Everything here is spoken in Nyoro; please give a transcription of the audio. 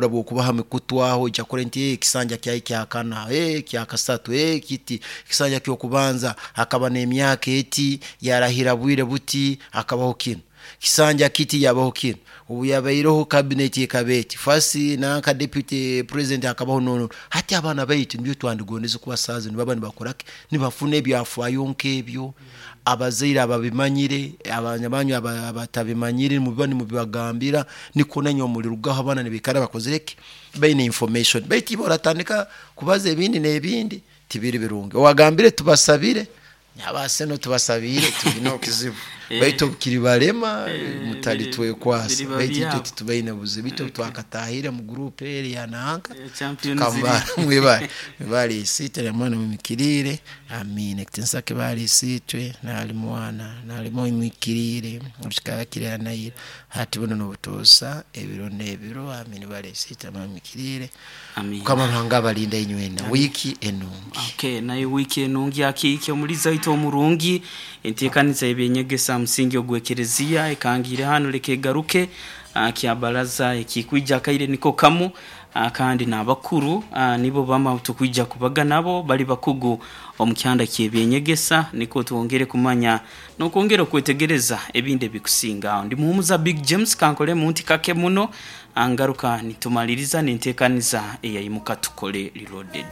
Okuhura bwokuba ha mikutu aho, ojya kurora nti ekisanja kyaye kyakana, kyakasatu, kiti ekisanja ky'okubanza akaba n'emyaka eti, yarahira bwire buti, akabaho kinu kisanja kiti, yabaho kinu, obu yabaireho cabinet ekaba eti, first nanka deputy president akabaho nono. Hati abaana baitu nibyo twandigondeze kuba saaha zinu nibaba nibakora ki, nibafuna ebyafaayo nk'ebyo. Abazaire ababimanyire, abaana banyu abatabimanyire muba nimubibagambira, nikwo nainywe mulirugaho abaana nibaikara bakozire ki, baine information. Baitu iwe oratandika kubaza ebindi n'ebindi, tibiri birungi. Owagambire tubasabire, abaseno tubasabiire, tibine okizibu, baitu obukiribalema mutalitwekwasa, baitu itwe titubaine buzibu. Itwe twakatahire mu gurupu eri ya nanka tukamba mwebale, mwebale Isiitwe na Mwana mwimikiriire, amiina. Ekitinisa kibe hali Isiitwe na hali Mwana na hali Mwoyo Muhikiriire, kikaba kiri ira na ira, hati bunu n'obutoosa, ebiro n'ebiro, amiina. Mwebale Isiitwe na Mwana mwimikiriire. Mukama Ruhanga abalinde inywena. Wiiki enungi. Okay, nayo wiiki enungi akiiki omulizi aitu omurungi. Enteekaniza y'eby'enyegesa ha musingi ogw'ekereziya ekangiire hanu, leka egaruke kya baraza ekikwija akaire niko kamu, kandi n'abakuru nibo bamu abu tukwija kubaga nabo bali bakugu omu kyanda ky'eby'enyegesa, nikwo twongere kumanya n'okwongera okwetegereza ebindi ebikusinga aho. Ndi Muhumuza Big James, kankolemu nti kake muno ngaruka nitumaliriza n'enteekaniza eyaimuka tukole reloaded.